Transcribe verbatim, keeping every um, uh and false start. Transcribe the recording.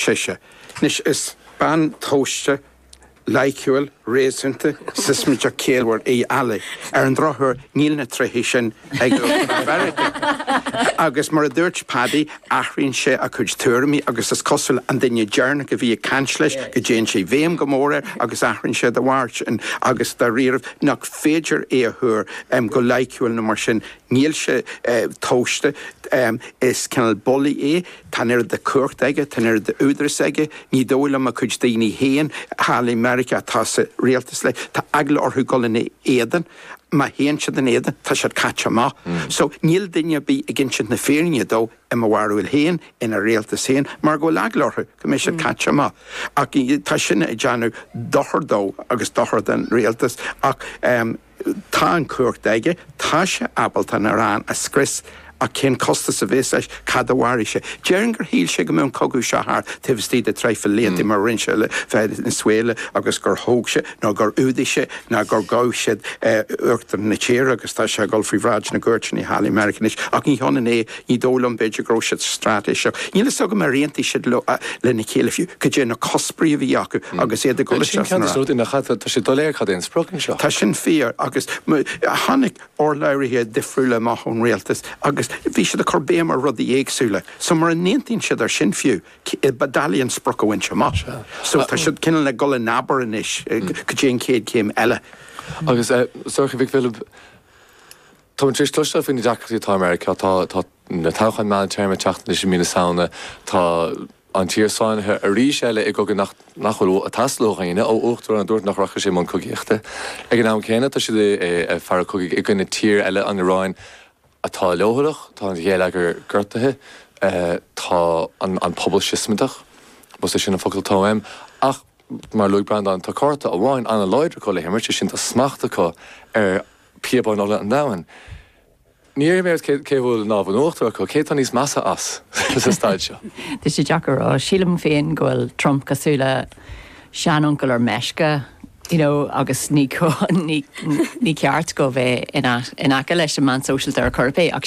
Sise. Anois is bean tomhaiste, loighciúil, réasúnta, siosmaideach ciallmhar í Ali. Ar an drochuair, níl na tréithe sin ag Uachtarán Mheiriceá. Agus mar a dúirt Paddy, athraíonn sé a chuid tuairimí agus is cosúil an duine deireanach a bhí ag caint leis go dtéann sé i bhfeidhm go mór air agus athraíonn sé de bharr sin agus dáiríribh nach féidir é a thuar go loighciúil nó mar sin. Níl sé tomhaiste, is cineál bulaí é, tá an oiread de chumhacht aige, tá an oiread de údaras aige, ní dóigh liom a chuid daoine féin thall i Meiriceá atá sa rialtas leis, tá eagla orthu dul ina éadan, má théann siad ina éadan tá siad caite amach. So níl duine ar bith ag insint na fírinne dó, i mo bharúil féin, ina rialtas féin, mar go bhfuil eagla orthu go mbeidh siad caite amach. Ach tá sin ag déanamh dochar dó agus dochar don rialtas ach. Tá an chumhacht aige, tá sé ábalta an Iaráin a scrios ach cén costas a bhéas leis, cá fhad a mhairfidh sé? Déarfainn gur shíl sé go mbeadh an cogadh seo thart taobh istigh de traidhfil blianta mar a rinne sé le Venezuela agus gur thóg sé nó gur fhuadaigh sé nó gur ghabh siad uachtarán na tíre agus tá sé ag dul faoi bhráid na gcúirteanna thall i Meiriceá anois ach ní hionann é, ní dóigh liom b'fhéidir go raibh siad straitéiseach. Níl fhios agam ar aontaigh siad lena chéile fiú cad é na cuspóirí a bhí acu agus iad ag dul isteach san Iaráin. Tá sé doiléir cad é an sprioc anseo. Tá sin fíor agus tháinig urlabhraithe difriúla amach ón rialtas agus bhí siad ag cur béim ar rudaí éagsúla. So mura n-aontaíonn siad ar sin fiú, ba doiligh an sprioc a bhaint amach. So tá siad cineál ag dul in abar anois go dtí an chéad chéim eile. Agus Sorcha Mhic Philib, tá muid tar éis cloisteáil faoi na deacrachtaí atá i Meiriceá. Tá tá na toghcháin meántéarma ag teacht anois i mí na Samhna. Tá an tír sáinnithe arís eile i gcogadh nach nach bhfuil ag teastáil ó dhaoine, ó uachtarán a dúirt nach rachadh sé i mbun cogaíochta. Ag an am céanna, tá siad ag fearadh cogaidh i gcoinne tír eile, an Iaráin, atá leochaileach, tá an gheilleagar gortaithe, tá an pobal siosmaideach, más é sin an focal atá uaim. Ach, mar a luaigh Breandán, tá cárta amháin an-láidir acu le himirt, sé sin tá smacht acu ar píobáin ola an domhain. Ní iarrfaidh mé ort cé a bhfuil an lámh in uachtar acu, cé atá níos measa as sa staid seo? Tá sé deacair a rá. Sílim féin go bhfuil Trump cosúil le seanuncail ar meisce, you know, agus ní ní ceart dó bheith in aice leis an meán sóisialta ar chor ar bith ach